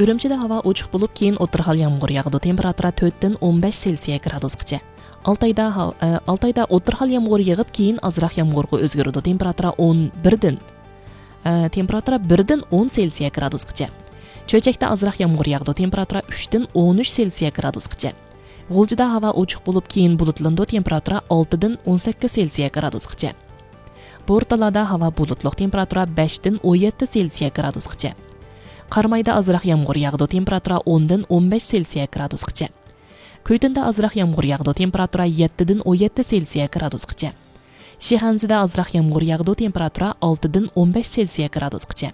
Үрүмчүдө аба ачык болуп, кийин отургал ямгыр ягды. Температура 4-тен 15 Цельсия градускача. Алтайда отургал ямгыр ягып, кийин азыраак ямгырга өзгөрөдү. Температура 1-ден 10 Цельсия градускача. Чөйчөктө азыраак ямгыр ягды. Температура 3-ден 13 Цельсия градускача. Гулжуда аба ачык болуп, кийин булутланды. Температура 6-ден 18 Цельсия градускача. Борталада аба булутлук. Температура 5-ден 17 Цельсия градускача. Кармайда азыраак ямгыр ягды. Температура 10-ден 15 Цельсия градускача. Көйтөндө азыраак ямгыр ягды. Температура 7-ден 17 Цельсия градускача. Шиханзыда азыраак ямгыр ягды. Температура 6-ден 15 Цельсия градускача.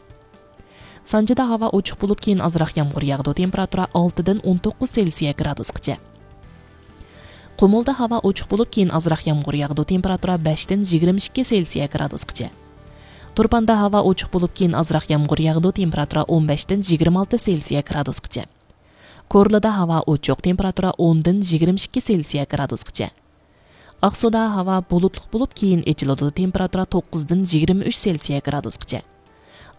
Санжыда аба ачык болуп, кийин азыраак ямгыр ягды. Температура 6-ден 19 Цельсия градускача. Кумулда аба ачык болуп, кийин азыраак ямгыр ягды. Температура 5-ден 22 Цельсия градускача. Турпанда аба ачык болуп, кийин азыраак ямгыр ягды. Температура 15-ден 26 Цельсия градускача. Корлуда аба ачык. Температура 10-ден 22 Цельсия градускача. Ак сууда аба булутлук болуп, кийин эчилди. Температура 9-ден 23 Цельсия градускача.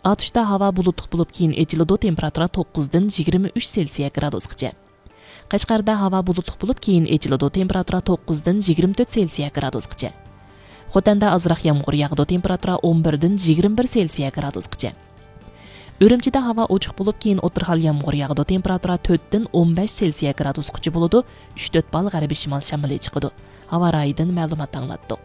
Атышта аба булутлук болуп, кийин эчилди. Температура 9-ден 23 Цельсия градускача. Кашкарда аба булутлук болуп, кийин эчилди. Температура 9-ден 24 Цельсия градускача. Хотанда азыраак ямгыр ягды. Температура 11-ден 21 Цельсия градускача. Үрүмчүдө аба ачык болуп, кийин отургал ямгыр ягды. Температура 4-ден 15 Цельсия градускача болуду. 3-4 балл гарибий шымал шамалы чыгыды. Аба ырайынан маалымат аңлаттык.